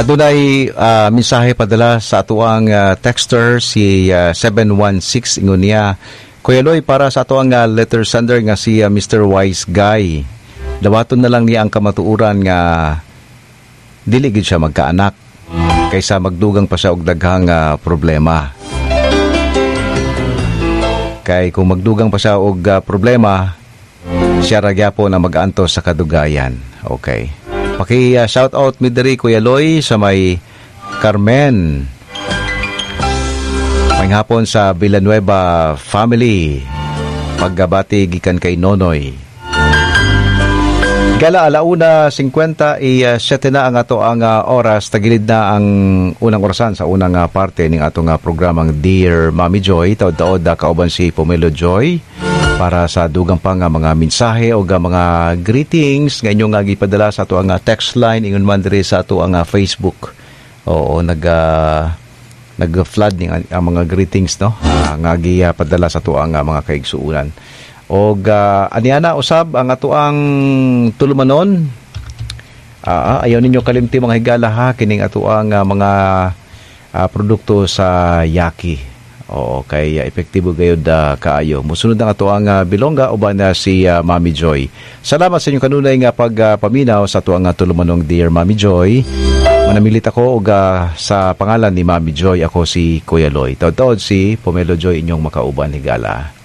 Adunay mensahe padala sa atuang texter, si 716. Ingon niya, "Kuya Loy, para sa atuang letter sender nga si Mr. Wise Guy. Dawaton na lang niya ang kamatuoran nga dili gid siya magkaanak kaysa magdugang pa siya og daghang problema. Kay kung magdugang pa siya og problema, siya ra gyapon na mag-antos sa kadugayan." Okay. Paki shout out mi diri, Kuya Loy, sa may Carmen. Maayong hapon sa Villanueva family. Pagbati gikan kay Nonoy. Gala, 1:57 na ang ato ang oras. Tagilid na ang unang orasan sa unang parte ning atong programang Dear Mommy Joy. Taod-taod kauban si Pomelo Joy para sa dugang pa nga mga mensahe o mga greetings nga inyong nga gipadala sa ato ang text line, ingon man diri sa ato ang Facebook. Oo, nag-flood ning ang mga greetings, no, nga gipadala sa ato ang mga kaigsuonan. Og aniana usab ang ato ang tulumanon. Ayaw ninyo kalimti, mga higala ha, kining ato ang mga produkto sa Yaki. Oo, kay epektibo gayud kaayo. Musunod ang ato ang Bilongga uban na si Mami Joy. Salamat sa inyong kanunay nga pagpaminaw sa ato ang tulumanong Dear Mami Joy. Manamilit ako og sa pangalan ni Mami Joy, ako si Kuya Loy. Taod-taod si Pomelo Joy inyong makauban, higala.